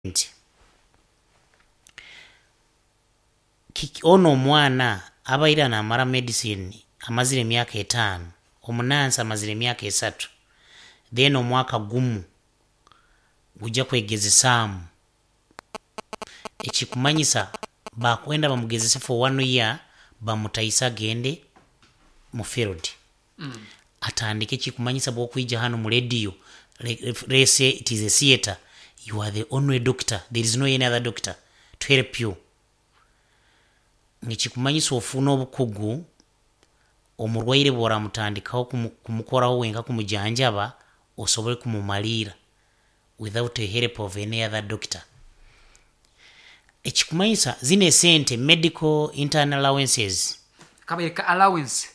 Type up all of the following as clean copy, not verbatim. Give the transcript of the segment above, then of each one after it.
Nti kiki ono omwana abaire namara medicine amazire emyaka 5, omunansi amazire emyaka 3, then omwaka gumu gujja kwegezesaamu. Ekikumanyisa bakwenda bamugezese for one year, bamutaise agende mu field atandike. Ekikumanyisa bwokwija hanu mu radio, let's say it is a theatre, you are the only doctor, there is no any other doctor to help you. Nikikumanyisa ofuna obukugu, omurwaire bworamutandikaho kumukoraho wenka, kumujanjaba, osobole kumumaliira without the help of any other doctor. Ekikumanyisa zino esente, medical intern allowances. Kabaire ka allowance.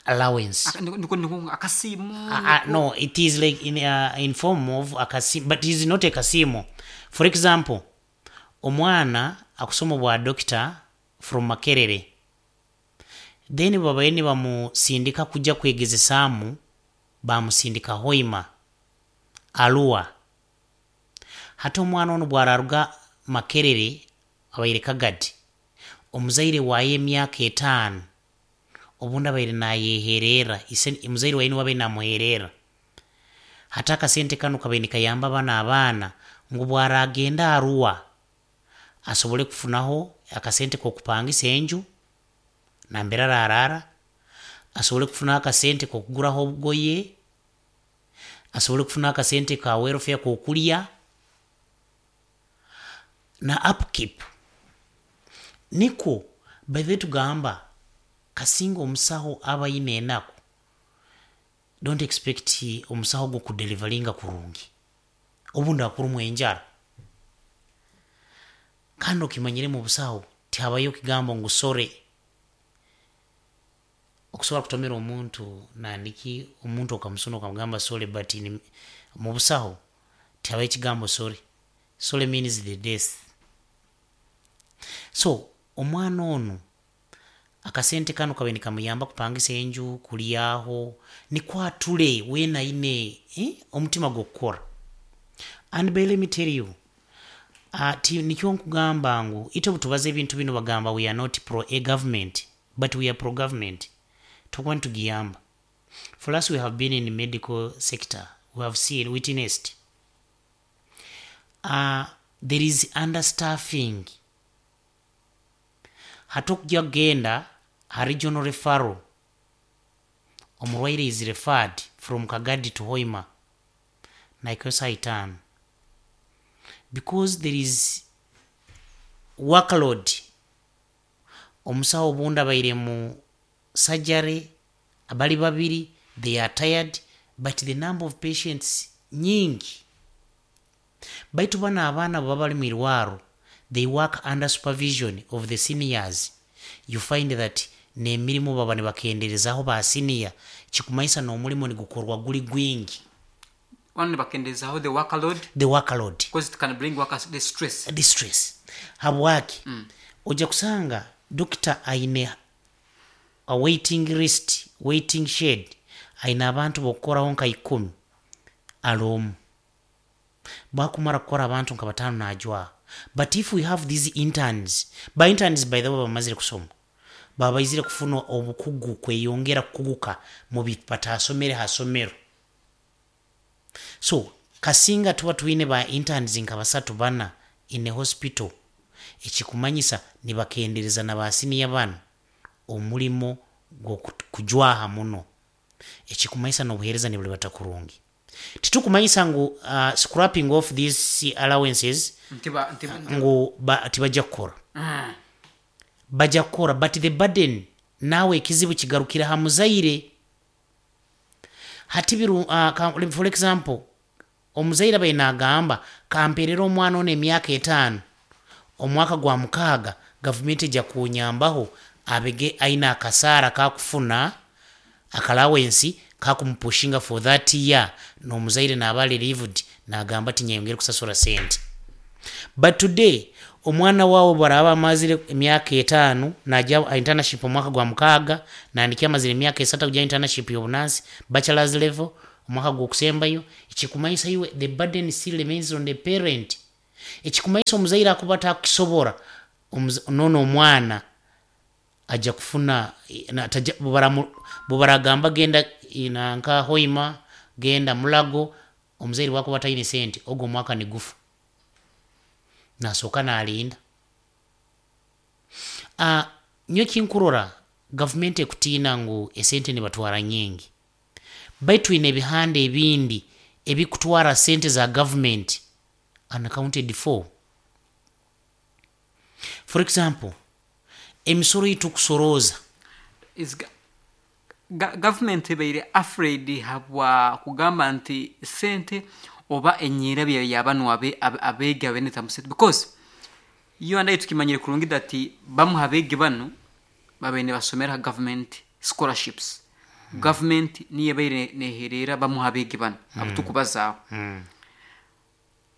Allowance. Niko akasiimo. No, it is like in form of akasiimo, but it is not a kasiimo. For example, omwana akusoma obwa doctor from Makerere, then babaire nibamusindika kujja kwegezesaamu, bamusindika Hoima, Arua. Hati omwana onu bwararuga Makerere abaire Kagadi, omuzaire waye emyaka 5 obundi abaire nayeherera, omuzaire waye niwe abaire namuherera. Hati akasente kanu kabaire nikayamba bano abaana ngu bwaragenda Arua asobole kufunaho akasente kokupangisa enju nambere ararara, asobole kufunaho akasente kokuguraho obugoye, asobole kufunaho akasente ka welfare kokulya na upkeep. Nikwo by the way tugamba kasinga omusaho aba aine enaku, don't expect omusaho ogwo kudeliveringa kurungi, obundi akurumwa enjara. Kandi okimanyire mu busaho tihabayo kigambo ngu sorry. Okusobola kutomera omuntu nandiki omuntu okamusuna okamugamba sorry, but mu busaho tihabayo ekigambo sorry. Sorry means the death. So omwana onu akasente kanu kabaire nikamuyamba kupangisa enju, kulyaho, nikwo atule weena aine omutima gw'okukora. And by let me tell you, nikyo nkugamba ngu itwe obutubaza ebintu binu bagamba we are not pro a government, but we are pro government. Tukuba nitugiyamba. For us, we have been in the medical sector, we have seen, witnessed. There is understaffing. Hati okujya kugenda ha regional referral, omurwaire is referred from Kagadi to Hoima naikayo saaha 5 because there is workload. Omusawo obundi abaire mu surgery bali babiri, they are tired, but the number of patients nyingi. Baitu bano abaana bwe baba bali mu irwaro, they work under supervision of the seniors. You find that n'emirimu baba nibakenderezaho ba senior, kikumanyisa n'omulimo nigukorwa guli gwingi. One, nibakendezaho the workload. The workload. Because it can bring workers the stress. The stress. Habwaki? Ojja kusanga dokita aine a waiting list, waiting shed, aine abantu bokukoraho nka 10, alomu bakumara kukora abantu nka 5 najwaha. But if we have these interns, ba interns by the way bamazire kusoma, baba baizire kufuna obukugu, kweyongera kukuguka mu bintu batasomere ha somero. So kasinga tuba twine ba interns nka 3, 4 in a hospital, ekikumanyisa nibakendereza na ba senior bano omulimo gw'okujwaha muno, ekikumanyisa n'obuheereza nibulibata kurungi. Titukumanyisa ngu scrapping off these allowances ngu tibajja kukora. Bajja kukora, but the burden naawe ekizibu kigarukira ha muzaire. Hati biru, for example, omuzaire abaire nagamba kamperere omwana ono emyaka 5, omwaka gwa 6 gavumenti ejja kunyambaho abege aine akasaara kakufuna aka allowance kakumupushinga for that year, n'omuzaire naaba relieved nagamba tinyeyongere kusasura sente. But today omwana wawe bwaraba amazire emyaka 5 najya internship omwaka gwa 6, nandiki amazire emyaka 3 kujya internship y'obunansi bachelor's level omwaka gw'okusembayo, ekikumanyisa iwe the burden still remains on the parent. Ekikumanyisa omuzaire akuba atakukisobora, nono omwana ajja kufuna bubaragamba genda nka Hoima, genda Mulago, omuzaire bwakuba ataine sente, ogwo omwaka nigufa, nasooka nalinda. Nyowe kinkurora gavumenti ekutiina ngu esente nibatwara nyingi, baitu twine ebihanda ebindi ebikutwara sente za gavumenti unaccounted for. For example, emisoro yitukusorooza. Is government ebaire afraid habwa kugamba nti sente oba enyirabya yabanu abeegi abenetamu sente, because you and I tukimanyire kurungi that bamu abeegi banu babaire nibasomera government scholarships. Government niyo ebaire neherera bamu abeegi banu abutukubazaaho.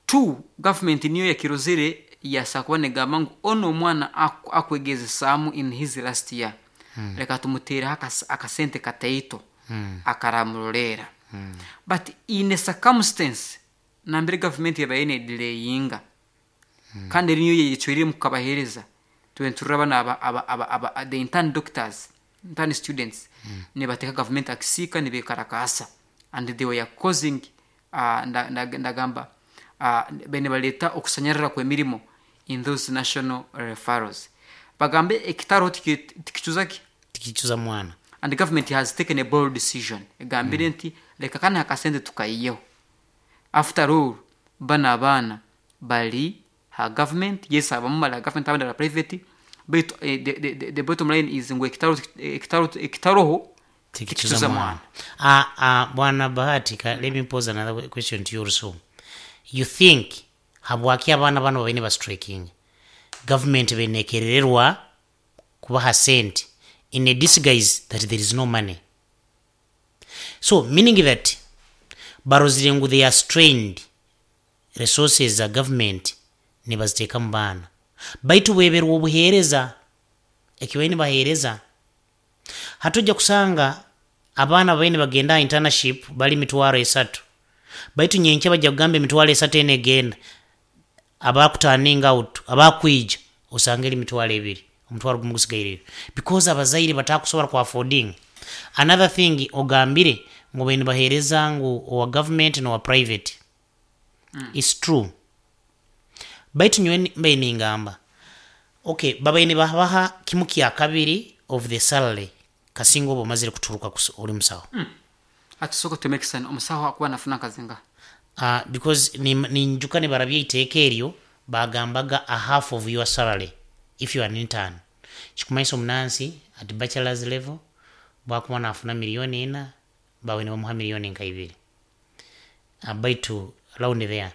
Two, government niyo yakirozere yasa kuba negamba ngu ono omwana akwegezesaamu in his last year, leka tumuteereho akasente kataito akaramuroleera. But in a circumstance nambere government yabaire nedelayinga, kandi eri niyo yecweriremu kukabaheereza, tube niturora bano aba the intern doctors, intern students, nibateeka government akisiika, nibekarakaasa, and they were causing ndagamba bene baleeta okusanyarara kw'emirimo in those national referrals. Bagambe ekitaro tikicuza ki? Tikicuza mwana. And the government has taken a bold decision, egambire nti leka kana akasente tukayiyeho. After all, bano abaana bali ha government, yes, abamu bali ha government, abandi bali private, but the bottom line is ngu ekitaroho tikicuza mwana. Bwana Bahati, let me pose another question to you also. You think habwaki abaana bano babaine bastriking, government benekerererwa kubaha sente in a disguise that there is no money? So meaning that barozire ngu they are strained resources za government nibaziteeka mu baana, baitu bweberwa obuheereza ekibaine nibaheereza. Hatujja kusanga abaana babaine bagenda internship bali 30,000, baitu nyenkya bajja kugamba 30,000 eno egenda, abakuturning out abakwija osanga eri 20,000, 10,000 gusigaireyo, because abazaire batakusobora ku affording. Another thing, ogambire ngu baine baheereza ngu owa government nowa private. It's true, baitu nyowe mbaine ningamba, okay, babaine babaha 2/3 of the salary kasinga oba omazire kuturuka ori musaho. Atusooka tumekisani omusaho akuba nafuna akazinga. Because ninjuka nibarabya iteeka eryo, bagambaga a half of your salary if you are an intern. Kikumanyisa omunansi at bachelor's level bwakuba nafuna 4 million, bawe nibamuha 2 million, baitu round there.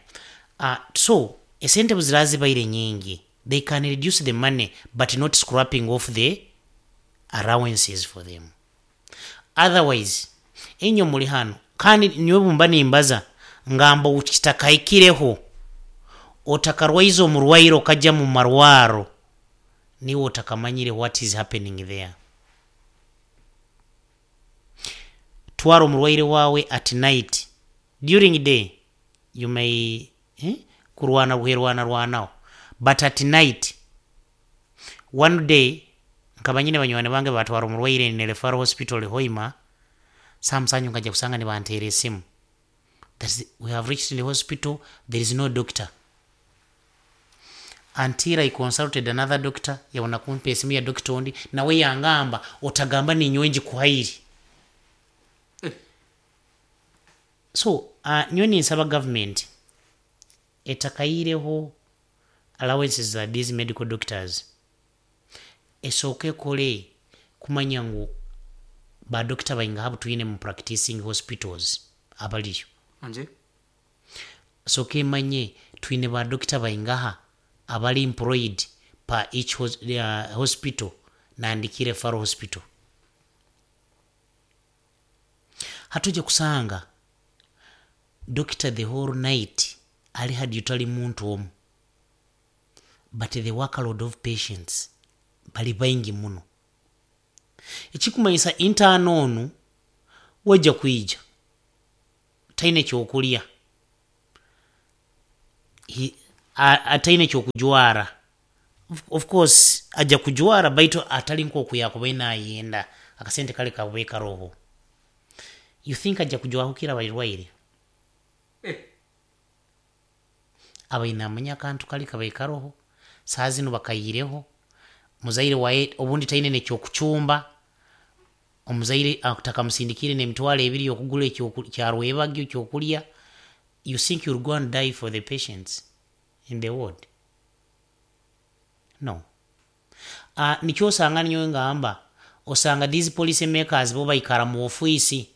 So esente buzira zibaire nyingi, they can reduce the money but not scrapping off the allowances for them. Otherwise enyo muli hano, kandi niwe bumba nimbaza ngamba kitakaikireho otakarwaiza omurwaire okajja mu marwaro, niwe otakamanyire what is happening there. Twara omurwaire wawe at night. During day you may kurwana rwerwana rwanaho, but at night. One day nkaba nyine banywani bange batwara omurwaire ne referral hospital Hoima, samusanyu nkajja kusanga nibanteera esimu that we have reached the hospital, there is no doctor, until I consulted another doctor. Yabona kumpa esimu ya doctor ondi, nawe yangamba otagamba ninyowe njikuhairi. So nyowe ninsaba government etakaireho allowances za these medical doctors, esooke ekole kumanya ngu badokita baingaha butwine mu practicing hospitals abaliyo. Anje. Sooka emanye twine badokita baingaha abali employed per each hospital, nandikire referral hospital. Hatujja kusanga doctor the whole night ali hadi utali muntu omu, but the workload of patients bali baingi muno. Ekikumanyisa intern onu wajja kwija taine kyokulya. Ataine kyokujwara, of course ajja kujwara, baitu atali nk'oku yakubaire nayenda. Akasente kale kabe karoho, you think ajja kujwahukira abarwaire? Eh. Abaine amanya akantu kali kabaire karoho, saa zinu bakayireho muzaire waye, obundi taine nekyokucumba. Omuzaire takamusindikire n'emitwaro 20 okugura kyarwebagyo kyokulya. You think you'll go and die for the patients in the ward? No. Nikyo osanga ninyowe ngamba, osanga these policy makers bo baikara mu ofiisi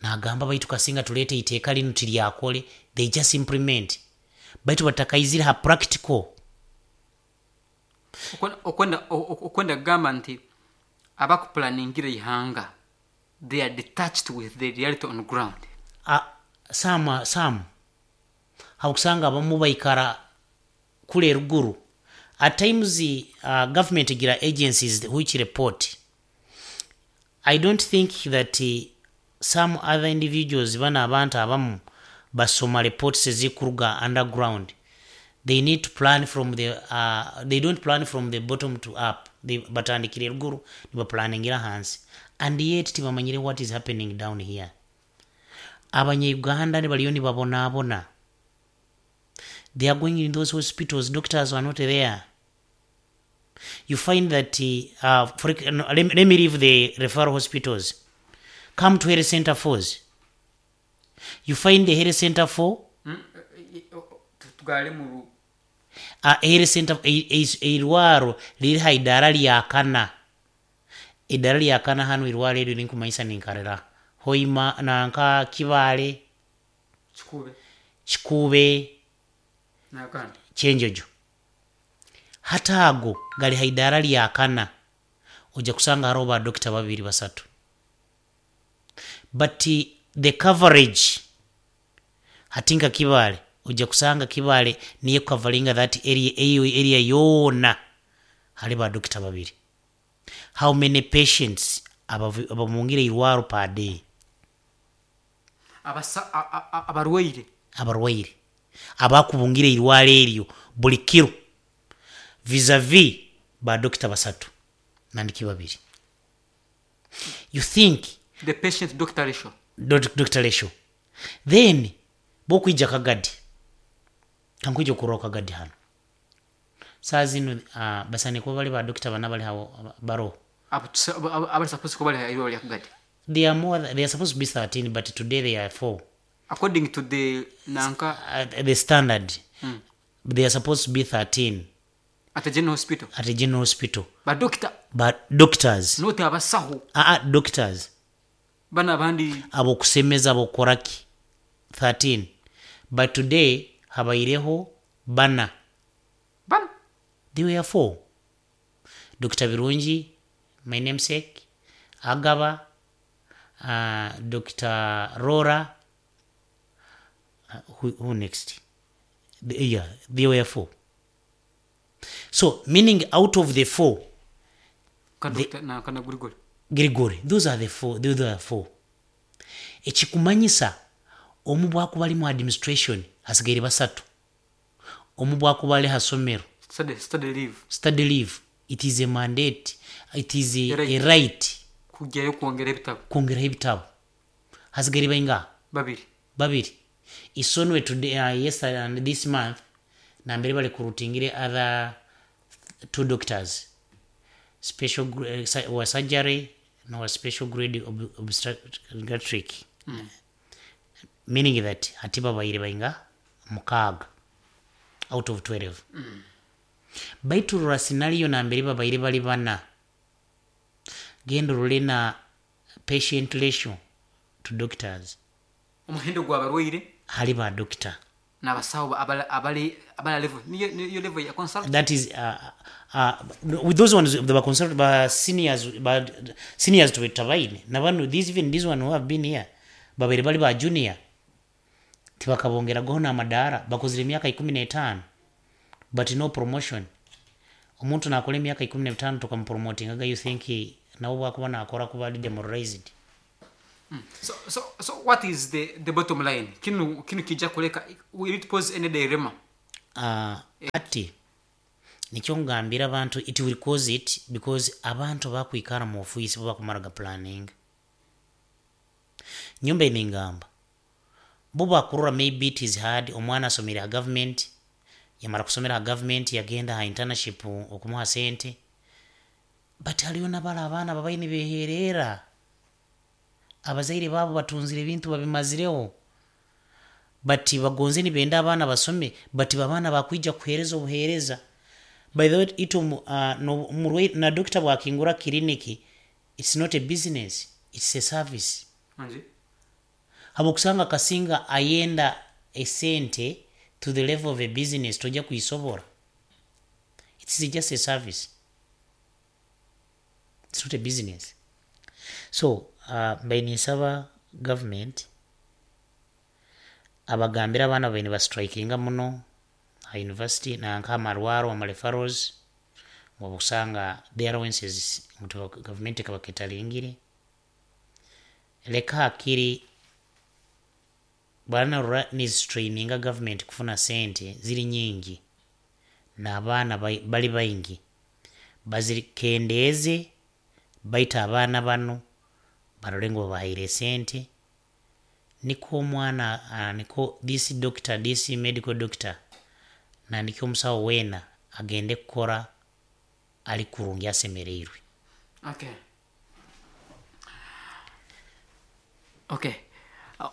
nagamba, baitu kasinga tuleete iteeka linu tiryakole. They just implement, baitu batakaizire ha practical. Okwenda kugamba nti abakupulaningira ihanga, they are detached with the reality on ground. Some hakusanga abamu baikara kule eruguru. At times government egira agencies which report. I don't think that some other individuals, bana abantu abamu basoma reports ezikuruga underground. They need to plan from the they don't plan from the bottom to up. They batandikira eruguru nibaplaningira hansi, and yet tibamanyire what is happening down here. Abanya-Uganda baliyo nibabonaabona. They are going in those hospitals, doctors are not there. You find that no, let me leave the referral hospitals, come to health center fours. You find the health center four, Tugale mu health center eirwaro riri ha idara lya kana, idara lya kana hano. Irwaro eryo linkumanyisa ninkarera Hoima nanka Kibale. Kikube. Kikube. Nakandi. Kyenjojo. Hata ago gali ha idara lya kana, ojja kusanga hariho ba dokita babiri, basatu, but the coverage hati nka Kibale, ojja kusanga Kibale niyo coveringa that area, eyo area yoona hali ba dokita babiri. How many patients abamungire irwaro per day? Abarwaire. Abarwaire abakubungira irwaro eryo buli kiro vis-a-vis ba dokita basatu nandiki babiri, you think? The patient doctor ratio. Doctor ratio. Then bokwija Kagadi, kankwija okurora Kagadi hano saa zinu, basane kuba bali ba dokita bana bali hawo baroho. Abali supposed kuba bali irwaro lya Kagadi. They are more, they are supposed to be 13, but today they are 4. According to the nanka? The standard, they are supposed to be 13. At a general hospital. At a general hospital. Ba doctor. But doctors. Not abasaho. Doctors. Bana abandi. Abokusemeza, abokoraki, 13, but today habaireho bana. Bana. They were four: Dr Birungi, my namesake, Agaba, Dr Rora, who next? Yeah, they were four. So meaning out of the four, Ka doctor na kana Grigori. Grigori, those are the four. Those are four. Ekikumanyisa omu bwakuba ali mu administration, hasigaire basatu. Omu bwakuba ali hasomero, Study leave. Study leave, it is a mandate, it is A right. a right. Kujyayo kwongera ebitabo. Kwongeraho ebitabo, hasigaire bainga? Babiri. Babiri. Isonwe today, yesterday and this month, nambere bali kurutingire other two doctors, special wa surgery no special grade obstetric, meaning that ati babaire bainga mukaaga out of 12. Baitu rora scenario nambere babaire bali bana, genda orole na patient ratio to doctors. Omuhendo gw'abarwaire hali ba doctor n'abasawo abali level niyo level ya consult. That is with those ones, the consult ba seniors, ba seniors tubetabaine nabano. These, even this one who have been here, babiri bali ba junior, tibakabongeragaho n'amadaara. Bakozire emyaka 15 but no promotion. Omuntu nakola emyaka 15 tukamupromotingaga, you think nawe bwakuba nakora kuba ali demoralized? So what is the bottom line? Kinu kijja kuleka, will it pose any dilemma? Ati nikyo ngambira abantu, it will cause it because abantu bakwikara mu office bo bakumaraga planning. Nyumba ningamba bo bakurora maybe it is hard. Omwana asomere ha government, yamara kusomera ha government, yagenda ha internship okumuha sente, but haliyo nabala abaana babaye nibeherera, abazaire babo batunzire ebintu babimazireho, but bagonze nibenda abaana basome, but babaana bakwija kuhereza obuhereza. By the way, ito no, na doctor bwakingura clinic, it's not a business, it's a service. Habwokusanga kasinga ayenda esente to the level of a business, tojja kuisobora. It's just a service, it's not a business. So mbaine nsaba government abagambira abaana baine bastrikinga muno ha university nanka amarwaro, amareferrals, okusanga the allowances ngu government ekabaketalingire. Leka hakiri bwana nizitraininga government kufuna sente ziri nyingi n'abaana bali baingi, bazikendeeze, baita abaana bano barole ngu babahaire sente, niko omwana niko this doctor, this medical doctor, nandiki omusawo weena agende kukora ali kurungi asemereirwe. Okay,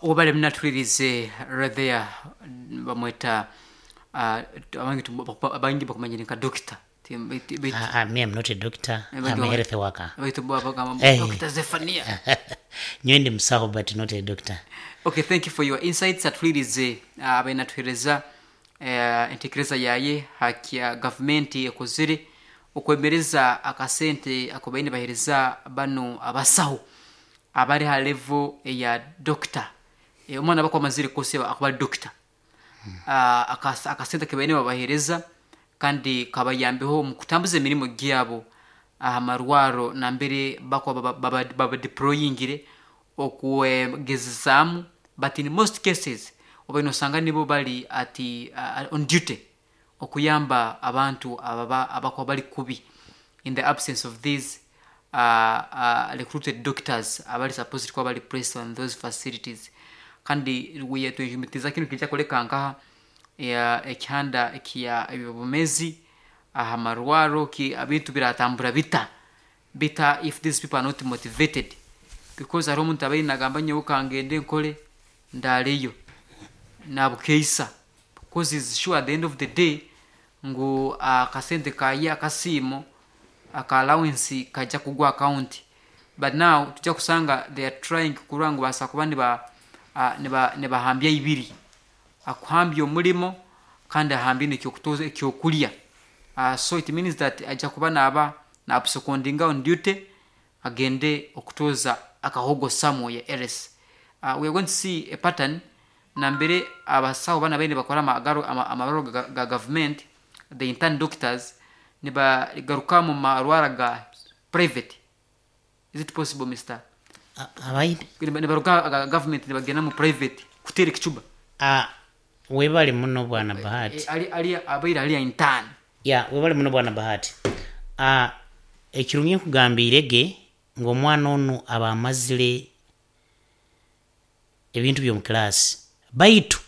wabale mnatulirize right there, bamweta abangi bakumanyire nka doctor. Me, I'm not a doctor. I'm a health worker. Baitu bagamba Eh. Dr. Zephania. Nyowe ndi musawo but not a doctor. Okay, thank you for your insights. Atulirize abainatuhereza entekereza yaye hakya gavumenti ekozire okwemereza akasente ako baine bahereza bano abasaho abari ha level eya doctor. Omwana bakwamazire kose akuba ari doctor, akasente kebaine babahereza kandi kabayambeho mu kutambuza emirimo gyabo aha marwaro nambere bakwa babadeployingire okugezesamu. But in most cases obaine osanga nibo bali ati on duty okuyamba abantu ababa abakuba bali kubi in the absence of these recruited doctors abali supposed kuba bali placed on those facilities. Kandi twejumitiza kinu kijja kuleka nkaha ekihanda ekya ebyobumezi aha marwaro ki ebintu biratambura bita bita if these people are not motivated, because hariho omuntu abaire nagamba, "Nyowe kangende nkole ndareyo nabukeisa," because is sure at the end of the day ngu akasente kaye akasiimo aka allowance kajja kugwa account. But now tujja kusanga they are trying kurora ngu basa kuba niba nibahambya ibiri, akuhambya omulimo kandi ahambye nekyokutoza ekyokulya. So it means that ajja kuba naba nabsecondinga on duty agende okutoza akahogo somewhere else. We are going to see a pattern nambere abasawo bana baine bakora amarwaro ga government, the intern doctors, nibagaruka mu marwara ga private. Is it possible, Mr? Abaine Nibaruga ga government nibagenda mu private kutera ekicuba. Webale muno, bwana Bahati. Ali abaire ali intern. Ya, webale muno, bwana Bahati. Ekirungi nkugambire ge ng'omwana onu aba amazire ebintu by'omu class, baitu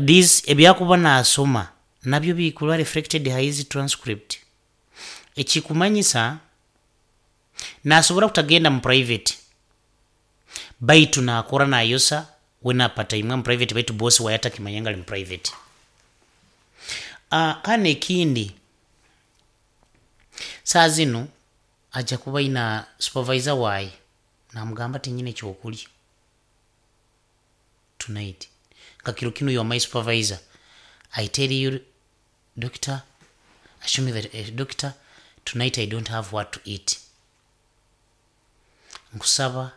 this ebyakuba nasoma nabyo bikuba reflected ha his transcript. Ekikumanyisa nasobora kutagenda mu private, baitu nakora nayosa we napata imwe mu private, baitu boss waye atakimanya nga ali mu private. Kandi ekindi, saa zino ajja kuba ina supervisor waye namugamba, "Tinyine ekyokulya tonight." Kakiro kino, "You are my supervisor, I tell you, doctor, assure me that doctor, tonight I don't have what to eat. Nkusaba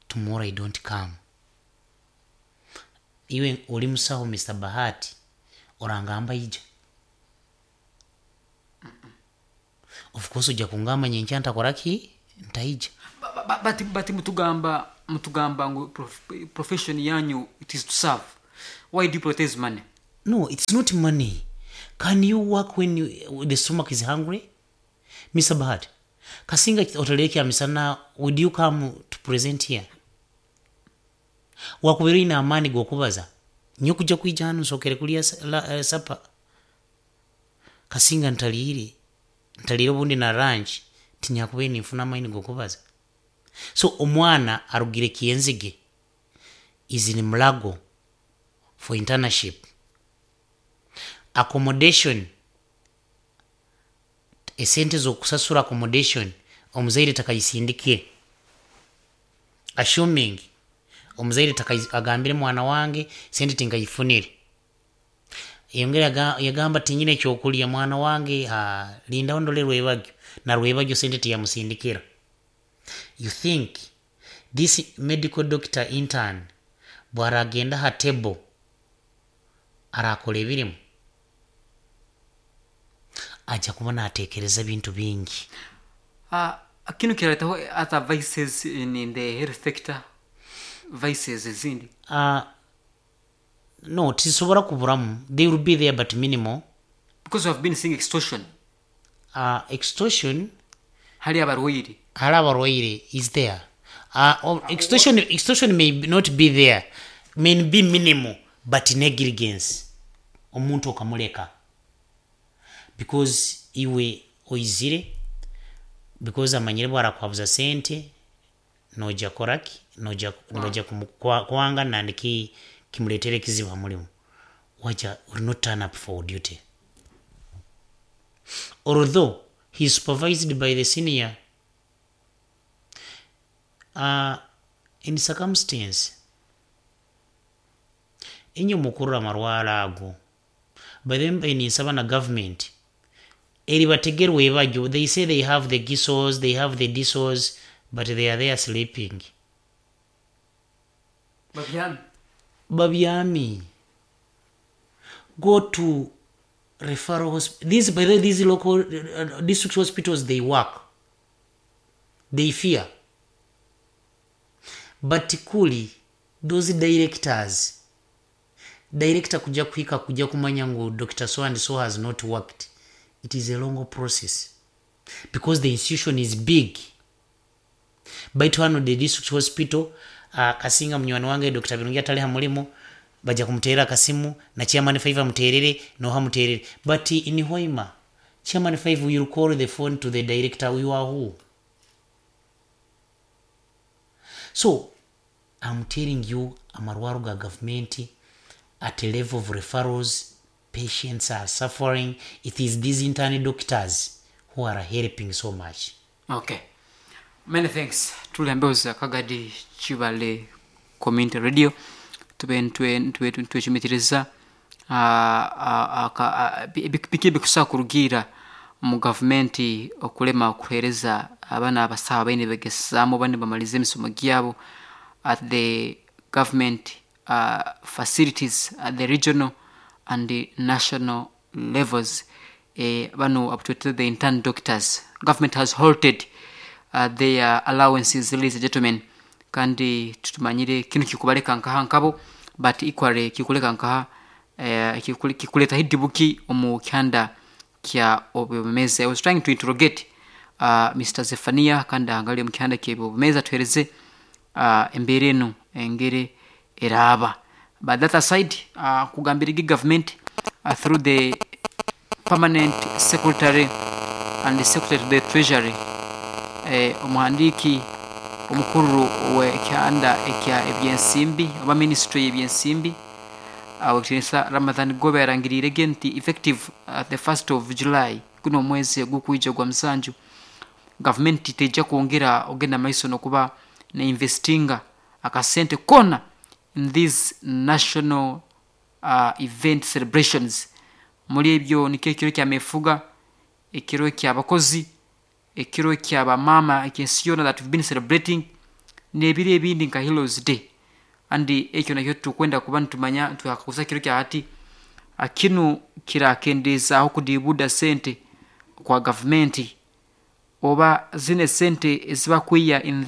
tomorrow I don't come." Iwe oli musawo, Mr Bahati, orangamba ija? Of course ojja kungamba nyenkya ntakoraki, ntaija. But mutugamba ngu profession yanyu, it is to serve. Why do you prioritize money? No, it's not money. Can you work when the stomach is hungry? Mr. Bahati, kasinga otaleke misana, would you come to present here? Wakubeera oyina amaani g'okubaza nyo kujja kwija hano nsokere kulya supper. Kasinga ntaliire, ntaliire obundi na lunch, tinyakubaire ninfuna amaani g'okubaza. So omwana arugire Kyenzige is in Mulago for internship. Accommodation, esente z'okusasura accommodation omuzaire takayisindikire. Assuming omuzaire agambire mwana wange sente tinkayifunire, yongera yagamba tinyine ekyokulya mwana wange, lindaho ndole rwebagyo, na rwebagyo sente tiyamusindikira. You think this medical doctor intern bwaragenda ha table arakora ebirimu? Ajja kuba natekereza bintu bingi. Kinu kiraletaho other vices in the health sector, vices ezindi? No, tizisobora kuburamu. They will be there, but minimal. Because we have been seeing extortion. Extortion hali abarwaire. Hali abarwaire is there. Extortion may not be there, may be minimal, but negligence, omuntu okamuleka because iwe oizire because amanyire bwarakwabuza sente noja koraki, noja, wow, noja kwanga nandiki kimuletere ekizibu ha mulimu, waja will not turn up for duty although he is supervised by the senior. In circumstance inyo mukurura amarwara ago, by the way, ninsaba na government eribategerwe ebajjo. They say they have the gisos, they have the disos, but they are there sleeping. Babyami. Babyami. Go to referral hospital. These, by the way, these local district hospitals, they work. They fear, but kuli those directors, director kujja kuhika kujja kumanya ngu Dr. So and so has not worked, it is a long process because the institution is big. Baitu hano the district hospital, kasinga munywani wange Dr. Birungi atali ha mulimu, bajja kumuterera akasimu na chairman 5 amuterere noha muterere. But in Hoima, chairman 5 will call the phone to the director, "You are who?" So I'm telling you, amarwaro ga government at a level of referrals, patients are suffering. It is these intern doctors who are helping so much. Okay, many thanks. Tulembeoza Kagadi Kibale Community Radio, tube ntwecumitiriza biki ebikusobola kurugiira mu gavumenti okulema okuheereza abaana abasawo abaine begesaamu bane bamalize emisomo gyabo at the government facilities at the regional and the national levels. Bano abutwetera the intern doctors, government has halted their allowances, ladies and gentlemen. Kandi tutumanyire kinu kikubaleka nkaha nkabo, but equally kikuleka nkaha kikuleta hidibuki omu kyanda kya obwebemezi. I was trying to interrogate Mr. Zephania kandi angali omu kyanda kyebwebemezi atuhereze embeera eno engeri eraaba. But that aside, kugambirigi government through the permanent secretary and the secretary to the treasury, omuhandiiki omukuru w'ekyanda ekya ebyensimbi oba ministry y'ebyensimbi, owekitinisa Ramadhan Gobe, yarangiriire nti effective the 1st of July, guno omwezi ogukwija gwa musanju, gavumenti tejja kwongera ogenda maiso nokuba neinvestinga akasente kona in these national event celebrations. Muri ebyo nikyo ekiro kyamefuga, ekiro kyabakozi, ekiro kyabamama ekyensi yona that we've been celebrating, n'ebiro ebindi nka Heroes Day. And ekyo nakyo tukwenda kuba nitumanya twakakuza kiro kya hati kinu kirakendeezaaho kudiibuda sente kwa gavumenti oba zine sente ezibakwiya in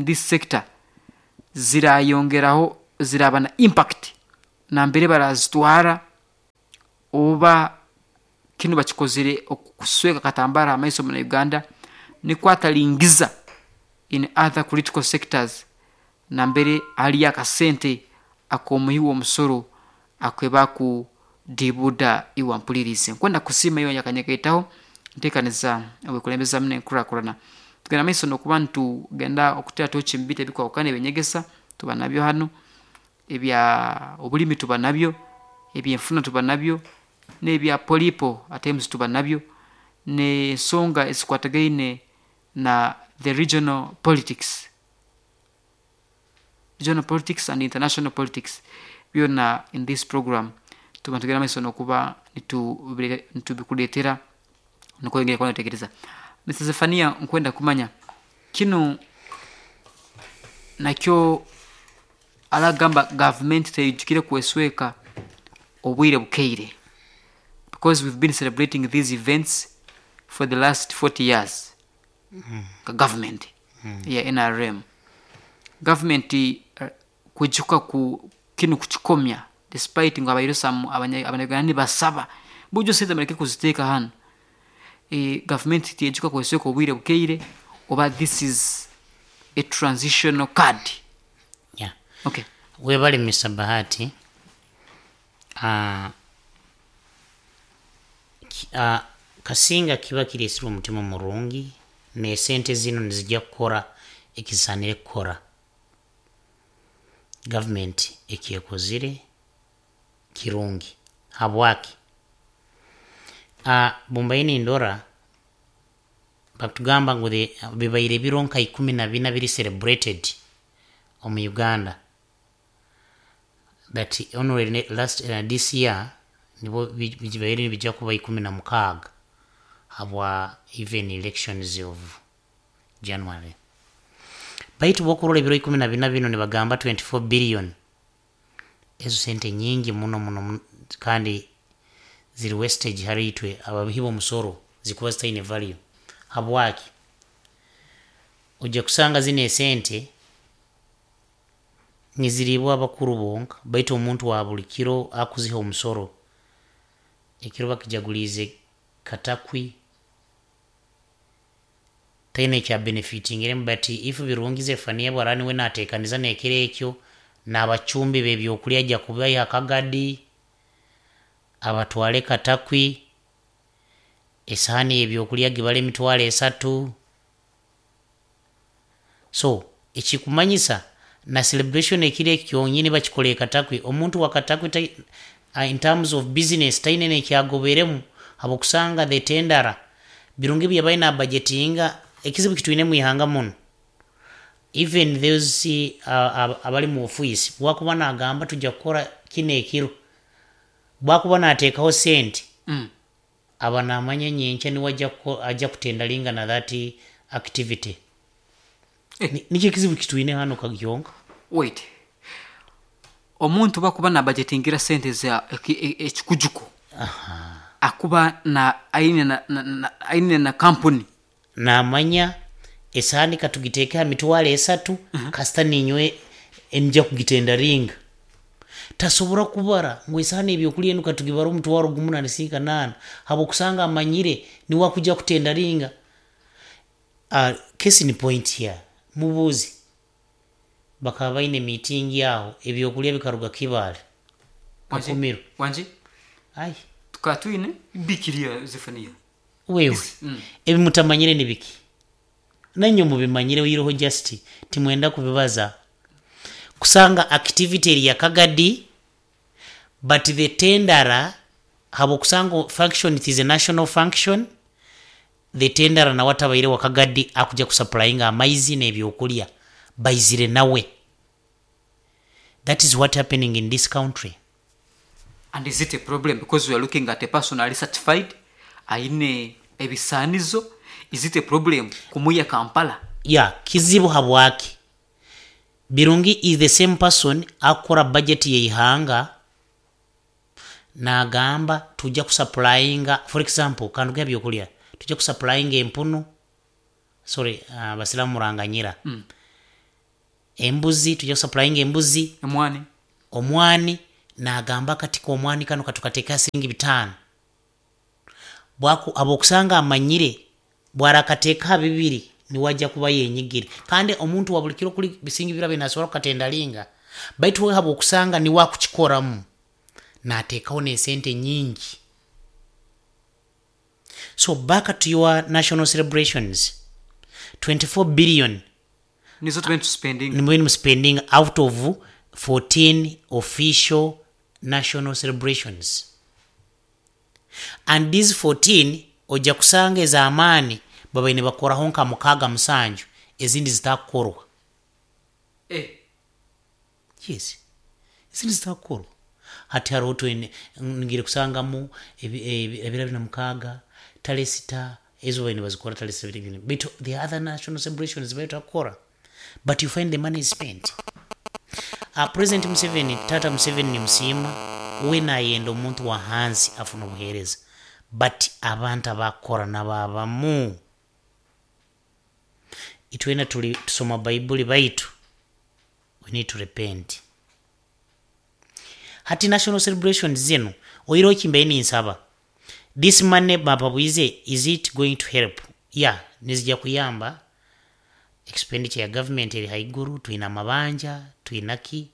this sector zirayongeraho ziraba na impact. Nambere barazitwara, oba kinu bakikozere okusweka akatambara amaiso muna Uganda nikwo atalingiza in other critical sectors nambere haliyo akasente ak'omuhi w'omusoro akwebaku dibuda. Iwe ampulirize, nkwenda kusiima iwe yakanyekaitaho ntekaniza obwekulembezamu nenkurakurana. Tugenda maiso nokuba nitugenda okutera tochi mubintu ebikwahukana. Eby'enyegesa tuba nabyo hanu, ebya obulimi tuba nabyo, ebyenfuna tuba nabyo, n'ebya polipo at times tuba nabyo, n'ensonga ezikwatagaine na the regional politics, regional politics and international politics, byona in this program tuba nitugenda maiso nokuba nitubikuleetera nuko kuba notekereza. Mr Zefania, nkwenda kumanya kinu nakyo aragamba gavumenti teyijukire kwesweka obwire bukeire, because we've been celebrating these events for the last 40 years. Ka government ya NRM, government kwijuka ku kinu kukikomya, despite ngu abaire some abanyaganda nibasaba bujo sente muleke kuziteeka hanu, gavumenti tiyejuka kwesweka obwire bukeire, oba this is a transitional card? Yeah. Okay. Webale, Mr Bahati. Kasinga kiba kiresirwe omutima murungi nesente zino nizijja kukora ekisanire kukora. Gavumenti ekyekozire kirungi. Habwaki? Bumbaire nindora bakutugamba ngu bibaire biro nka 14 biri celebrated omu Uganda, but only last this year nibo bibaire nibijja kuba 16 habwa even elections of January. Baitu bwokurora ebiro 14 bino, nibagamba 24 billion. Ezo sente nyingi muno muno muno, kandi ziri wastage hali itwe ababihi b'omusoro, zikuba zitaine value. Habwaki? Ojja kusanga zino esente niziriibwa abakuru bonka, baitu omuntu wa buli kiro akuziha omusoro, ekiro bakijaguliize Katakwi, taine ekya benefitingiremu. But if Birungi Zefania bwara niwe natekaniza nekiro ekyo n'abacumbi b'ebyokulya, ajja kubaiha Kagadi abatwale Katakwi, esahani y'ebyokulya gibala 30,000. So ekikumanyisa na celebration ekiro ekyo kyonyini bakikola e Katakwi, omuntu wa Katakwi in terms of business taine nekyagoberemu, habwokusanga the tendera Birungi byabaire na budgetinga. Ekizibu kitwine mu ihanga muno, even those abali mu office, bwakuba nagamba tujja kukora kino ekiro, bwakuba nateekaho sente, aba namanya nyenkya niwe ajja kutendalinga na that activity. Eh. Nikyo ekizibu kitwine hano kagyonka. Wait, omuntu bakuba na budgetingira sente za ekikujuko, akuba na aine na aine na kampuni, Namanya esahani katugiteeke ha 30,000, kasita ninywe nja kugitendaringa. Tasobora kubara ngu esahani ebyokulya enu katugibara 10,000 na nisiika nana, habwokusanga amanyire niwe akuja kutendaringa. Case in point here, mubuuzi bakaba baine meeting aho, ebyokulya bikaruga Kibaale. Wangi? Kakumiro. Wangi? Ai. Tukaba twine bikiria Zefania. Wewe, ebi mutamanyire ni biki? Nanywe mubimanyire, oyireho just timwenda kubibaza. Kusanga activity eri ya Kagadi, but the tendera, habwokusanga function, it is a national function, the tendera nawe atabaire wa Kagadi akuja kusupplyinga amaizi n'ebyokulya baizire nawe. That is what happening in this country. And is it a problem? Because we are looking at a person ali certified, aine ebisanizo. Is it a problem kumuya Kampala? Ya, kizibu. Habwaki? Birungi is the same person akora budget yeihanga, nagamba tujja kusupplyinga, for example kanduga byokulya, tujja kusupplyinga empunu, sorry, abasiramu muranganyira, embuzi, tujja kusupplyinga embuzi, Emwani, omwani. Nagamba akati k'omwani kanu katukateeka siringi 5. Habwokusanga amanyire bwarakateeka ha 2 niwajja kuba yenyigire, kandi omuntu wa buli kiro kuli bisingi birabe nasobora kukatendalinga, baitu we habwokusanga niwe akukikoramu nateekaho n'esente nyingi. So back to your national celebrations, 24 billion nizo tubeni tuspending, nimwe spending out of 14 official national celebrations, and these 14 ojja kusanga ez'amaani babaine bakoraho nka 6 7, ezindi zitakukorwa. Yes, ezindi zitakukorwa. Hati hariho ngire kusangamu ebiro 26, tale 6, ezo baine bazikora tale 7, baitu the other national celebrations batakukora, but you find the money is spent. President Museveni, Tata Museveni, nimusiima, we nayenda omuntu wa hansi afuna obuheereza, but abantu abakukora nabo abamu itwena tuli tusoma Baibuli, baitu we need to repent. Hati national celebrations zinu oireho kimbaye ninsaba, this money bapabwize, is it going to help? Yeah, nizija kuyamba. Expenditure ya government eri haiguru, twina amabanja, twinaki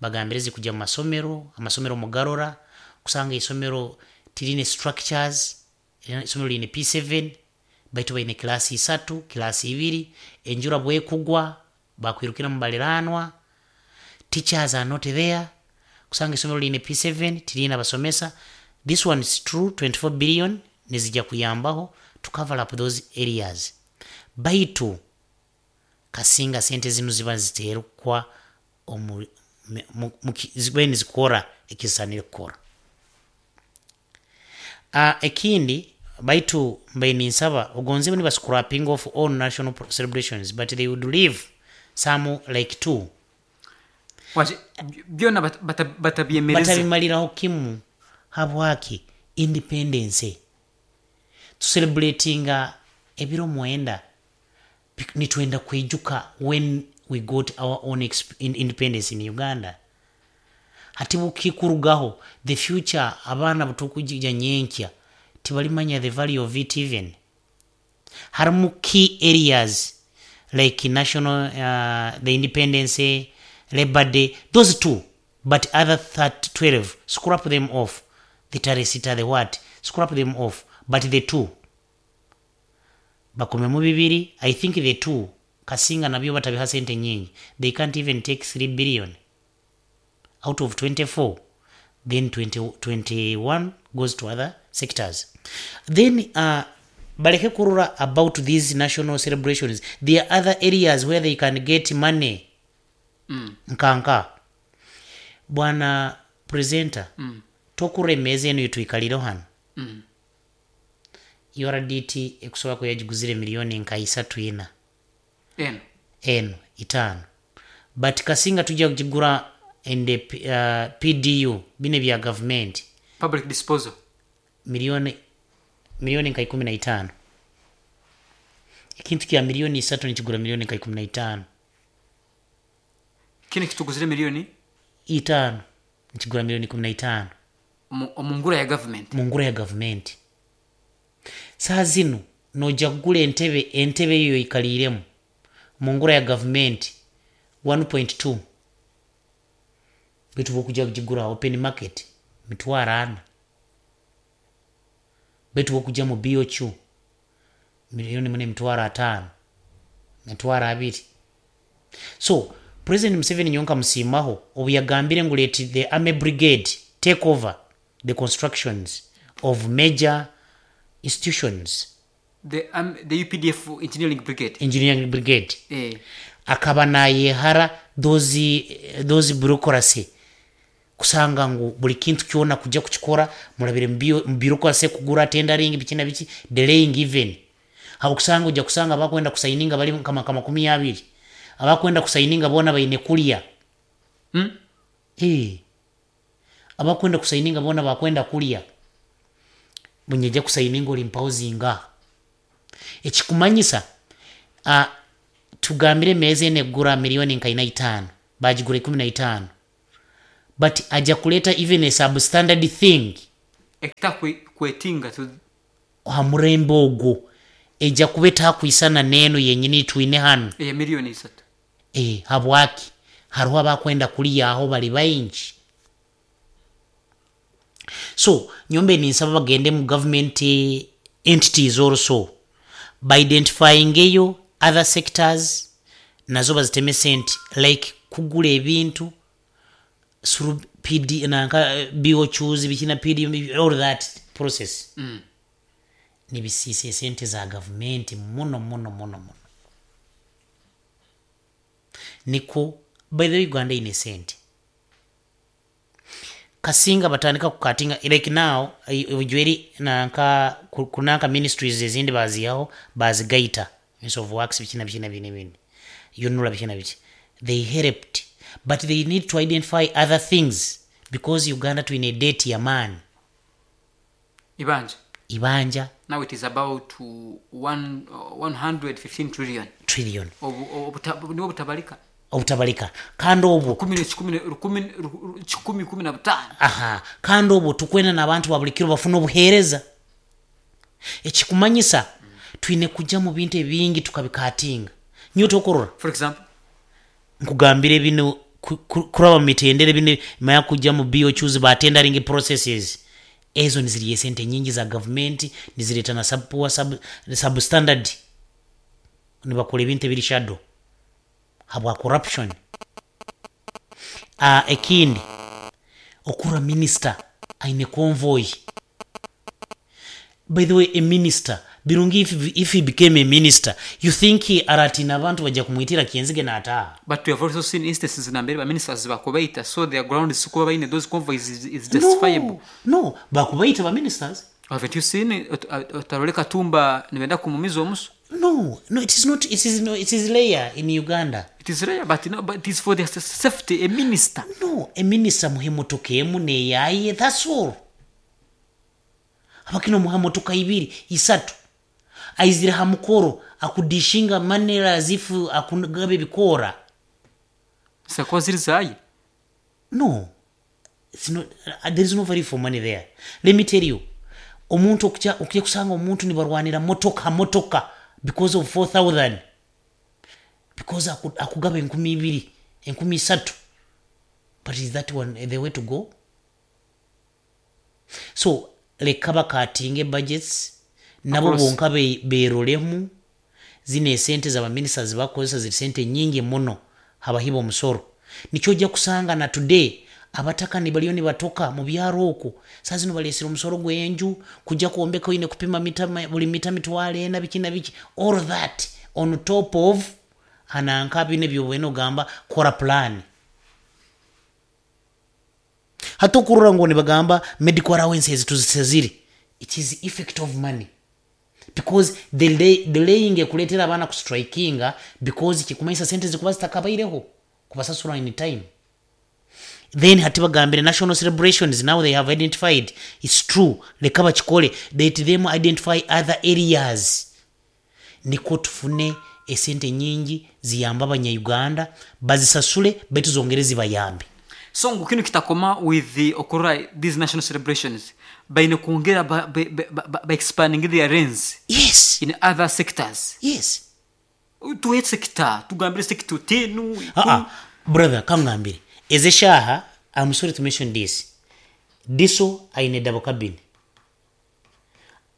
bagambire zikujja mu masomero, amasomero mugarora kusanga isomero tirine structures, isomero line P7 baitu baine klasi 3, klasi 2, enjura bwekugwa bakwirukira mu baliranwa, teachers are not there, kusanga isomero line P7 tirina basomesa. This one is true, 24 billion nizija kuyambaho to cover up those areas, baitu kasinga sente zinu ziba ziterukwa ziba nizikora ekisanire kukora. Ekindi baitu mbaye ninsaba ogonze niba scrapping off all national celebrations, but they would leave some like 2. Waje, byona batabyemereze, batabimaliraho kimu. Habwaki independence tucelebratinga ebiro 9, nitwenda kwijuka when we got our own independence in Uganda. Hati bukikurugaho the future, abaana butukujija nyenkya tibalimanya the value of it even. Harimu key areas like national, the independence, Labor Day, those 2, but other 12 scrap them off. The taresita, the what, scrap them off, but the 2 bakomemu 2. I think the 2 kasinga nabyo batabiha sente nyingi, they can't even take 3 billion out of 24, then 21 goes to other sectors. Then baleke kurura about these national celebrations. There are other areas where they can get money. Nkanka bwana presenter, tokura emeza eno yetwikalire hano. URDT ekusobola kuyagiguzire miliyoni nka 3 4 eno eno 5, but kasinga tujja kugigura in the PDU bine bya government, public disposal, milioni nka 15. Ekintu kya miliyoni 3 nikigura miliyoni nka 15. Kino kituguzire miliyoni 5 nikigura miliyoni 15 omu ngura ya government, mu ngura ya government. Saa zino nojja kugula entebe eyo ikaliremu mu ngura ya government 1.2, bitu bokujja kugigura open market 400,000, bitu bokujja mu BOQ milioni 4 500,000, 200,000. So President Museveni nyonka musimaho obu yagambire ngu let the army brigade take over the constructions of major institutions, the UPDF engineering brigade, engineering brigade. Akaba nayehara those bureaucracy, kusanga ngu buli kintu kyona kujja kukikora murabire mu bureaucracy, kugura tendering biki na biki, delaying even. Hakusanga ujja kusanga bakwenda kusaininga bali kama 20, abakwenda kusaininga bona baine kulya. Abakwenda kusaininga bona bakwenda kulya, bunyeja kusaininga oli mpauzinga. Ekikumanyisa tugambire meze ene gura milioni nka 5, bajigura 15, But ajja kuleeta even a substandard thing. Ekitakwetinga. Ha murembe ogwo ejja kuba etakwisana n'eno yenyini twine hanu. Eya 3 million. E, habwaki hariho abakwenda kuliyaho bali baingi. So nyombe ninsaba bagende mu government entities also baidentifying eyo other sectors nazo baziteme sente, like kugula ebintu through PD nanka BOQs bikina PD, all that process. Nibisiisa esente za gavumenti muno muno muno muno. Niko by the way, Uganda ine sente kasinga batandika kukatinga. Like now ujweri nanka kunanka ministries ezindi baziyaho bazigaita, Ministry of Works, bikina bikina bine bindi yonula bikina biki. They helped, but they need to identify other things because Uganda twine debt ya maani. Ibanja. Ibanja. Now it is about 115 trillion. Trillion. Niwo butabalika. Obutabalika, kandi obwo 115. Aha, kandi obwo tukwenda n'abantu ba buli kiro bafuna obuheereza. Ekikumanyisa twine kujja mu bintu ebingi tukabikatinga nyo tokurora. For example? Nkugambire bino kuraba mu mitendera bino maya kujja mu BOQs ba tendering processes ezo nizirya esente nyingi za gavumenti, nizireta na sub, poor substandard, nibakora ebintu ebiri shadow habwa corruption. Ekindi okura minister aine convoy. By the way, a minister birungi, if he became a minister, you think aratina abantu bajja kumwitira kyenzige n'ataaha? But we have also seen instances nambere ba ministers bakubaita, so their ground is kuba baine those convoys is justifiable. No, bakubaita ba ministers. Haven't you seen otarole Katumba nibenda kumumiza omuso? No, it is not. It is no, it is rare in Uganda. It is rare, but, no, but it is for their safety, a minister. No, a minister muhe motoka emu neyaye, that's all. Abakino muha motoka ibiri isatu, aizire ha mukoro akudishinga manera as if akugaba ebikora. Sakuba ziri zaye. No, it's not, there is no value for money there. Let me tell you, omuntu okujya kusanga omuntu nibarwanira motoka motoka because of 4000, because akugaba 2000, 3000. But is that one the way to go? So leka bakatinge budgets nabo bonka berolemu. Zino esente z'abaministers bakozesa ziri sente nyingi muno habahiba omusoro. Nikyo ojja kusanga na today abataka nibaliyo nibatoka mu byaro okwo. Saa zino balesera omusoro gw'enju kujja kwombeka, oyine kupima mita, buli mita 400,000, biki na biki, all that on top of hananka bine byobwene ogamba kora plan. Hati okurora ngu nibagamba medical allowances tuzisezire, it is effect of money because delaying ekuleetera abaana kustrikinga because kikumanyisa sente zikuba zitakabaireho kubasasura in time. Then hati bagambire national celebrations, now they have identified, it's true, leka bakikole. Let them identify other areas niko tufune esente nyingi ziyamba abanyayuganda, bazisasule baitu zongere zibayambe. So ngu kinu kitakoma with the okurora these national celebrations, baine kwongera ba expanding their range in other sectors. Yes. Tuhe sector, tugambire sector tenu. Ah, brother, kamngambire ezeshaha, I'm sorry to mention this, DISO aine double cabin,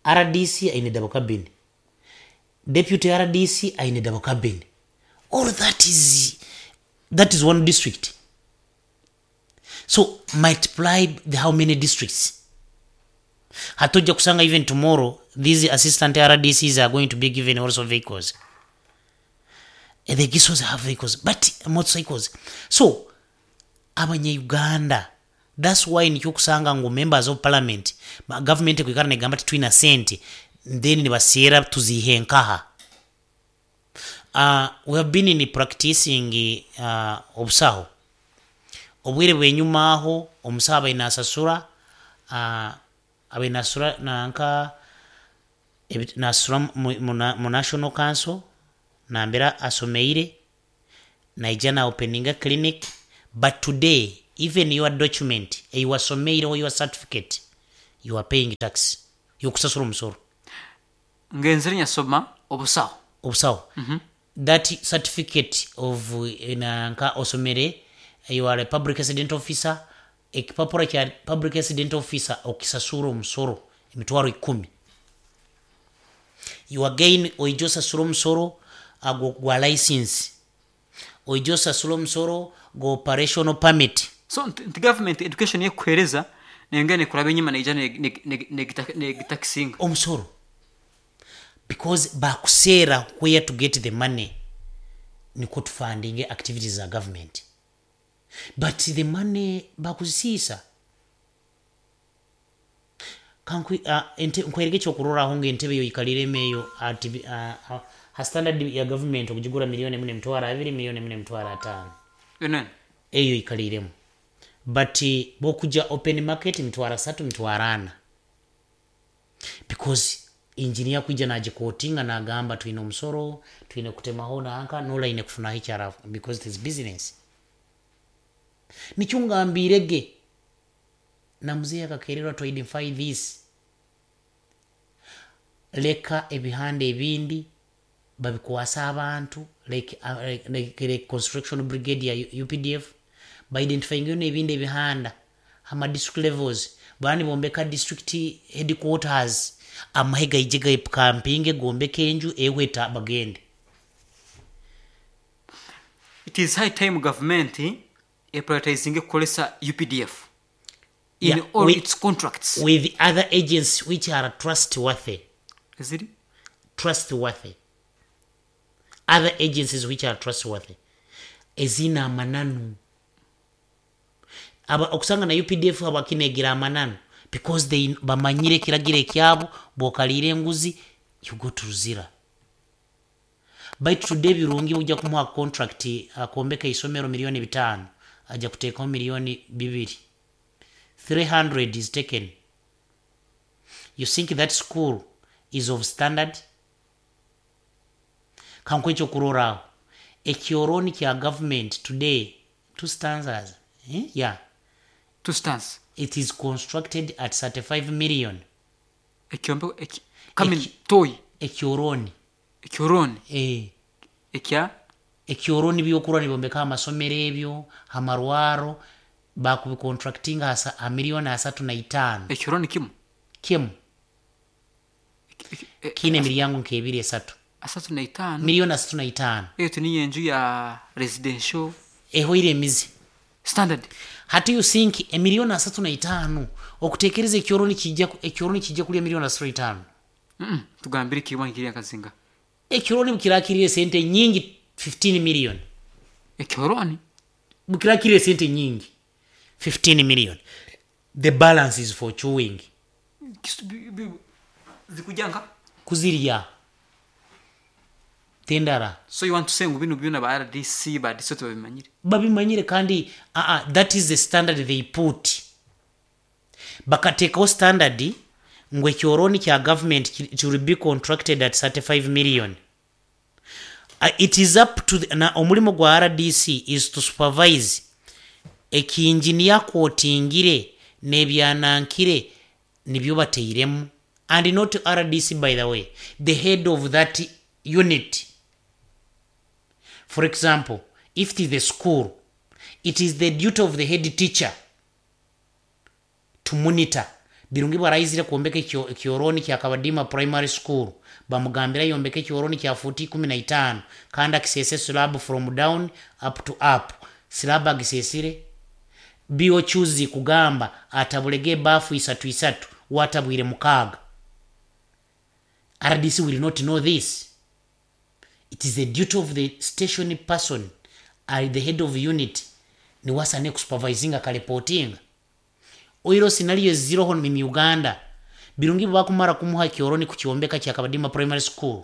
RDC aine double cabin, deputy RDC aine double cabin. All that is one district. So multiply the how many districts. Hatojja kusanga even tomorrow these assistant RDCs are going to be given also vehicles. The GISOs have vehicles, but motorcycles. So abanyayuganda, that's why nikyo kusanga ngu members of parliament, government kwikara negamba titwina sente, then nibaseera tuzihe nkaha. We have been in practicing obusaho obwire bwenyuma aho omusaho abaine asasura, abaine asasura nanka nasasura mu national council nambera asomeire naija na openinga clinic. But today Even your document eiwasomeireho, your certificate, you are paying tax, yokusasura omusoro. Ngenzere nyasoma obusaho. Obusaho. That certificate of nanka osomere, you are a public accident officer, ekipapura kya public accident officer okisasura omusoro 100,000. You again oija osasura omusoro agwo gwa license, oija osasura omusoro gwa operational permit. So nti government education yekuhereza nengene kuraba enyuma neija negitakisinga omusoro, because bakuseera where to get the money nikwo tufundinge activities za government, but the money bakuzisiisa. Nkwereke ekyokurorraho nga entebe yoikaliremu eyo ati ha standard ya government okugigura 1,200,000, 1,500,000. Enene. Eyo ikaliremu, but bokuja open market 300,000, 400,000, because engineer kwija nagiquotinga nagamba twine omusoro, twine kutemaho nanka nolaine kufunaho ekyara, because it is business. Nikyo ngambirege na muzeeyi akakererwa to identify this. Leka ebihanda ebindi babikwasa abantu like construction brigade ya UPDF, baidentifying n'ebindi ebihanda ama district levels, bani bombeka district headquarters, amahe gaije gaikampinge, gombeke enju ehweta bagende. It is high time government eprioritizinge kukolesa UPDF in all its contracts. With other agents which are trustworthy. Ziri? Trustworthy, other agencies which are trustworthy, ezina amananu. Aba okusanga na UPDF abakinegira amananu because they bamanyire ekiragiro ekyabo, bwokaliira enguzi you go to Luzira. Baitu tudde ebirungi, ujja kumuha contract akombeka isomero 5,000,000, ajja kuteekaho 2,000,000, 300 is taken. You think that school is of standard? Kankuhe ekyokurorraho, ekyoroni kya government today, two stanzas, eh? Yeah. Two stands. It is constructed at 35 million. Ekyombeko kamini toyi. Ekyoroni. Ekyoroni. Eh. Ekya. Ekyoroni byokurwa nibombeka amasomero ebyo, amarwaro, bakubicontractinga ha 35,000,000. Ekyoroni kimu. Kimu. Kiine emiryango nk'ebiri, esatu. 35. 35,000,000. Eyo tuniyo enju ya residential. Ehoire emizi. Standard. Hati you think 35,000,000 okutekereza ekyoroni kijja, ekyoroni kijja kulya 35,000,000? Tugambire kirwa nkiri akazinga. Ekyoroni bukirakirire sente nyingi 15 million. Ekyoroni bukirakirire sente nyingi 15 million. The balance is for chewing. Zikujanga kuzirya tendara. So you want to say ngu bino byona ba RDC ba DCO babimanyire? Babimanyire kandi that is the standard they put. Bakateekaho standard ngu ekyoroni kya government it will be contracted at 35 million. It is up to the, na omulimo gwa RDC is to supervise ekinjinia quotingire n'ebyanankire nibyo bateiremu, and not RDC, by the way, the head of that unit. For example, if it is the school, it is the duty of the head teacher to monitor. Birungi bwarayizire kwombeka ekyoroni kya Kabadima Primary School, bamugambira yombeka ekyoroni kya futi 15 kandi akisese slab from down up to up, slab agisesire biochuzi kugamba atabulege bafu isatu isatu, watabwire 6. RDC will not know this. It is the duty of the station person at the head of unit niwasane kusupervisinga kareportinga. Oiro scenario ziroho mu Uganda, Birungi bwakumara kumuha kyoroni kukyombeka kya Kabadima Primary School,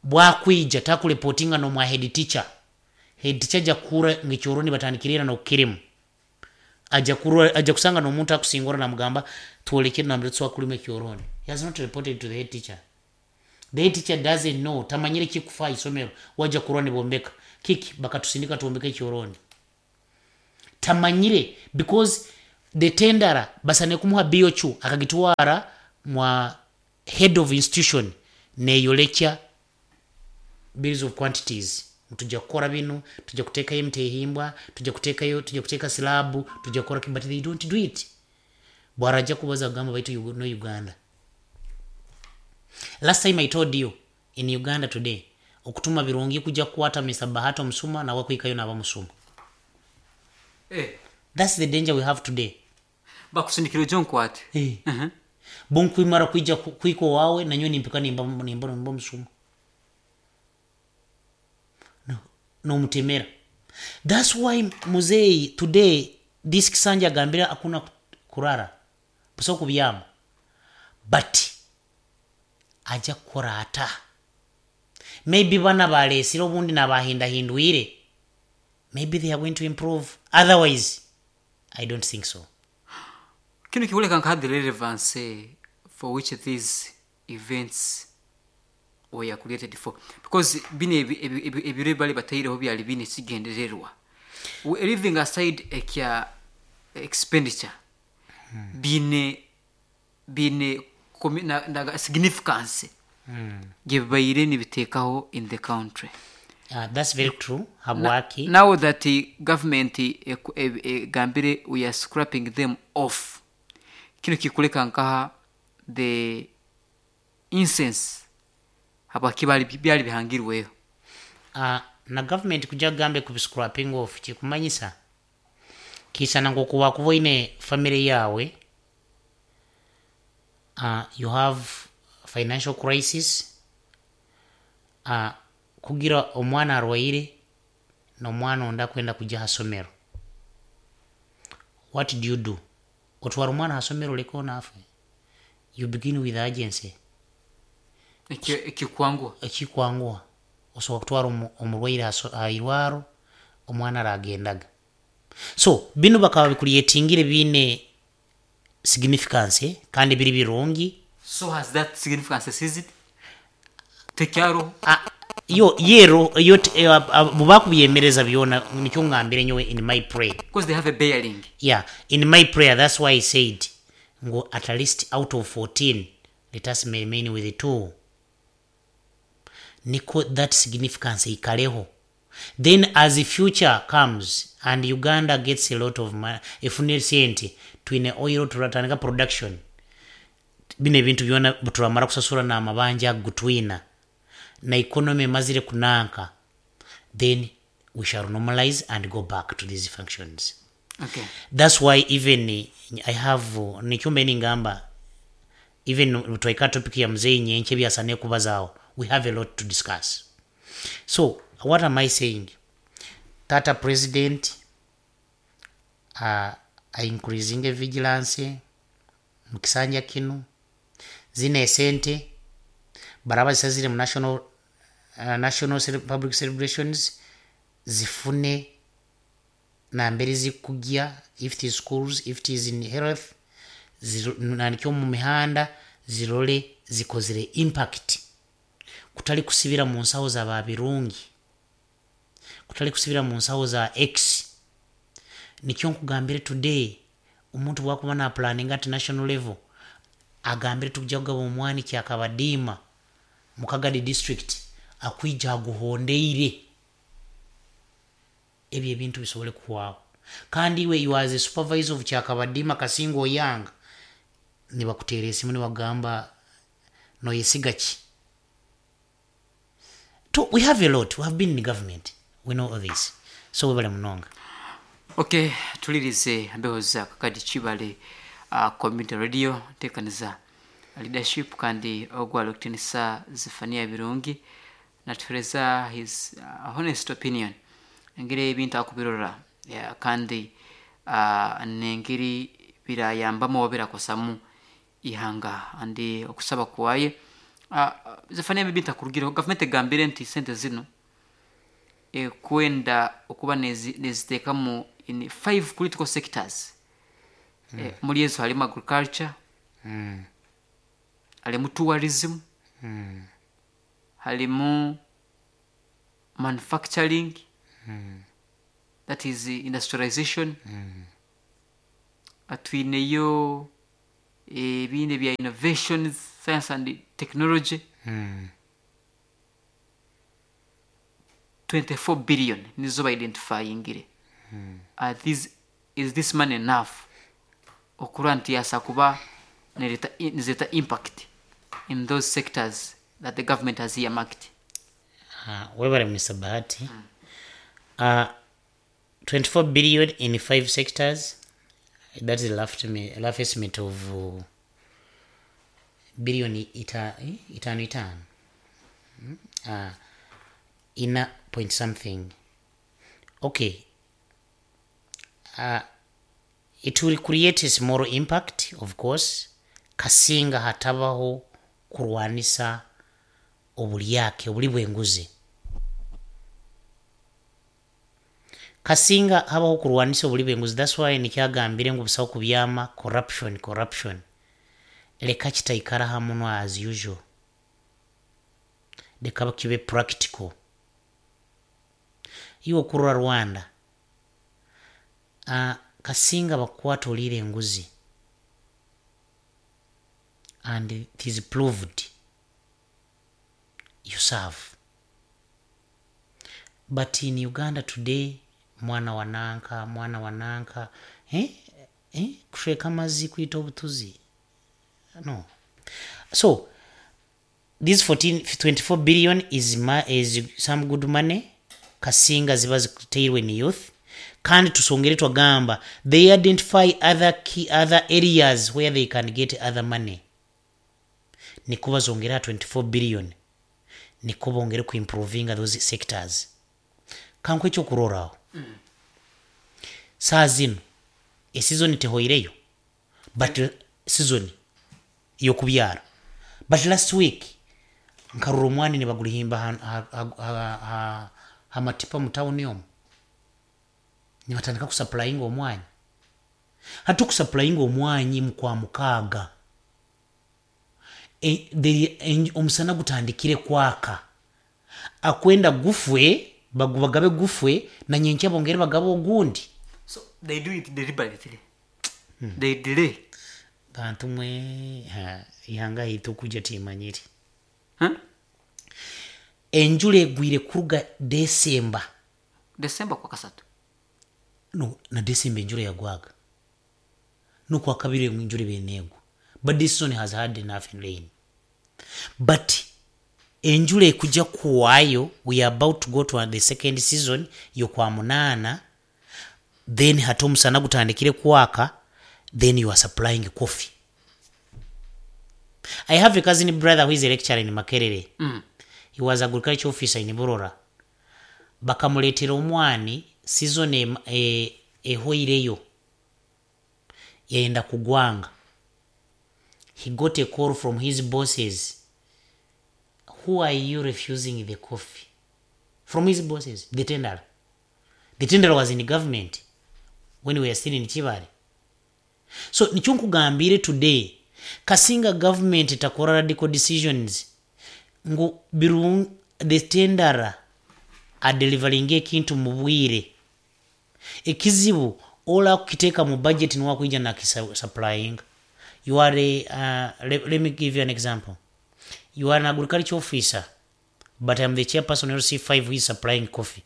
bwakwija takureportinga no mwa head teacher. Head teacher aja kura ngekyoroni batandikirira no kirimu, aja kurwa, aja kusanga no muntu akusingora namugamba tuolekere na mretso akulima ekyoroni. He has not reported to the head teacher. The head teacher doesn't know, tamanyire kikufa isomero, waja kurwa nibombeka kiki bakatusindika tuombeke ekyoroni. Tamanyire because the tenderer basane kumuha BOQ akagitwara mwa head of institution neyolekya bills of quantities, tujja kukora bino, tujja kuteekayo emitehimbwa, tujja kuteekayo, tujja kuteeka slab, tujja kukora, but they don't do it. Bwarajja kubaza kugamba baitu no Uganda. Last time I told you, in Uganda today okutuma birungi kujja kukwata Mr Bahati omusuma nawe kwikayo naba musuma. Eh. That's the danger we have today. Bakusindikira ojo nkwate. Eh. Bonkwimara kwija kwiko wawe nanyo nimpika nimba nimba nimba musuma no nomutemera. That's why muzei today this kisanja agambira akuna kurara buso kubyama, but aja kukora ata maybe bana balesire obundi nabahindahindwire, maybe they are going to improve, otherwise I don't think so. Kino kikuleka nka the relevance for which these events were created for, because bino ebiro bali bataireho byali bine kigendererwa. Leaving aside ekya expenditure, bine na significance gye bibaire nibiteekaho in the country. That's very true. Habwaki? Now that the government egambire we are scrapping them off, kino kikuleka nkaha the incense habwaki bali byali bihangirweho. Na government kujja kugambe ku scrapping off kikumanyisa kisana ngokuba kuba oine family yawe, you have financial crisis, kugira omwana arwaire n'omwana ondi akwenda kujya hasomero, what do you do? Otwara omwana hasomero oleke onaafe? You begin with agency. Ekikwangwa. Ekikwanguha osobola kutwara omurwaire hairwaro, omwana aragendaga. So bino bakaba bikucreatingire biine significance kandi biri birungi. So has that significance ceased? Tekyaro? Ah, yo yero yo bubakubyemereza byona nikyo ngambire nyowe in my prayer. Because they have a bearing. Yeah, in my prayer, that's why I said ngo at least out of 14 let us remain with two, niko that significance ikaleho. Then as the future comes and Uganda gets a lot of money, efune sente, twine oil, turatandika production, bino ebintu byona turamara kusasura n'amabanja gutwina na economy emazire kunanka, then we shall normalize and go back to these functions. That's why even I have nikyumba ningamba even twaika topic ya mzee nyenche byasane kubazaawo, we have a lot to discuss. So what am I saying? Tata president increasing vigilance mu kisanja kino, zino esente baraba zisazire mu national public celebrations zifune nambere zikujya, if it is schools, if it is in health, nanikyo mu mihanda, zirole zikozire impact, kutali kusibira mu nsawo za babirungi, kutali kusibira mu nsawo za x. Nikyo nkugambire today, omuntu bwakuba na planning at national level, agambire tujja kugaba omwani kyakabadiima mu Kagadi district, akwija aguhondeire ebyo ebintu bisobole kuhwaho. Kandi iwe, you as a supervisor of Kyakabadiima Kasinga Oyanga, nibakuteera esimu nibagamba noyesiga ki? To, we have a lot. We have been in government, we know all this. So webale munonga. Okay, tulirize mbeho za Kakadi Kibale community radio, ntekaniza leadership kandi ogwala okutinisa Zefania Birungi natuhereza his honest opinion engeri ebintu akubirora, yeah, kandi nengeri birayambamu oba birakosamu ihanga andi okusaba kwaye. Zefania, ebintu akurugireho gavumenti egambire nti sente zino ekwenda okuba neziteekamu in five critical sectors. Muri ezo harimu agriculture, harimu tourism, harimu manufacturing. That is industrialization. Twineyo ebindi ebya innovations, science and technology. 24 billion nizo baidentifyingire. Is this money enough okurora nti yasa kuba nizeta impact in those sectors that the government has earmarked? Webale, Mr. Bahati. 24 billion in five sectors, that is a rough estimate of billion itaano itaano, ina point something. Okay, it will create a small impact, of course, kasinga hatabaho kurwanisa obulyake, obuli bw'enguzi. Kasinga habaho kurwanisa obuli bw'enguzi. That's why nikyagambire ngu busaho kubyama corruption. Corruption leka kitaikara hamuno as usual, leka kibe practical. Iwe okurora Rwanda, kasinga bakukwata oliire enguzi and it is proved, you serve. But in Uganda today, mwana wananka, mwana wananka, eh? Eh? Kushweka amazzi kwita obutuzi. No, so this 14 24 billion is some good money kasinga ziba ziteirwe ni youth. Kandi tusongere twagamba they identify other key, other areas where they can get other money, niko bazongera 24 billion, niko bongere kuimprovinga those sectors. Kanku ekyokuroraho, saa zino esizoni tehoireyo, but season yokubyara, but last week nkarura omwani nibagulihimba hamatipa mu tawuni omu, nibatandika kusupplyinga omwanyi. Hati okusupplyinga omwanyi mukwa mukaaga, omusana gutandikire kwaka, akwenda gufwe, bagabe gufwe, nanyenkya bongere bagabe ogundi. So they do it deliberately, they delay. Bantu mwe, ihanga hitu kuja timanyiri. Huh? Enjula egwire kuruga Desemba. December kwa kasatu. No, na Desemba enjula yagwaga, nokwa kabiri enjula benegwa, but this season has had enough rain. But enjula ekujja kuwaayo, we are about to go to the second season yokwa munaana, then hati omusana gutandikire kwaka, then you are supplying coffee. I have a cousin brother who is a lecturer in Makerere. He was agriculture officer in Burora. Bakamuleetera omwani season ehweireyo, yayenda kugwanga. He got a call from his bosses, "Who are you refusing the coffee?" From his bosses, the tenderer. The tenderer was in government when we were still in Kibale. So nikyo nkugambire today, kasinga government takora radical decisions ngu the tenderer adeliveringa ekintu mu bwire. Ekizibu ola kukiteeka mu budget niwakwija nakisupplyinga. You are a, let me give you an example. You are an agriculture officer, but I'm the chairperson of LC5 who is supplying coffee,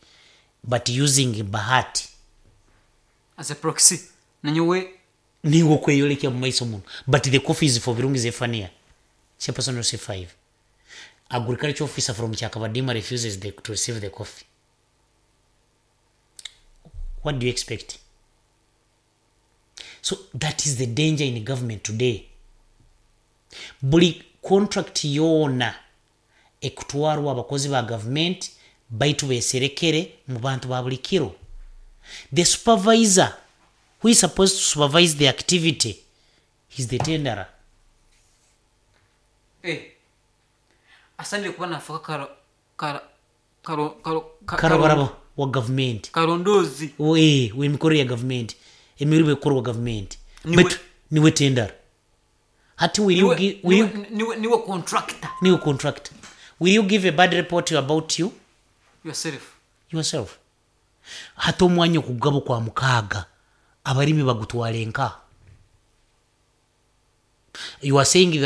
but using Bahati as a proxy, nanyowe. Niwe okweyolekya mu maiso muno, but the coffee is for Birungi Zephania, chairperson of LC5. Agriculture officer from Chakabadima refuses to receive the coffee. What do you expect? So that is the danger in government today. Buli contract yoona ekutwarwa abakozi ba government baitu beserekere mu bantu ba buli kiro. The supervisor who is supposed to supervise the activity is the tenderer. Eh. Asanire kuba nafuka karo karo karo karo Karabaraba wa government. Karondozi. W'emikorere ya government, emirimu ekorwa government. Niwe- Niwe tendera. Hati will you will you niwe contractor. Niwe contractor. Will you give a bad report about you Yourself? Yourself. Hati omwanya okugaba kwa mukaaga, abalimi bagutwale nka? You are saying that.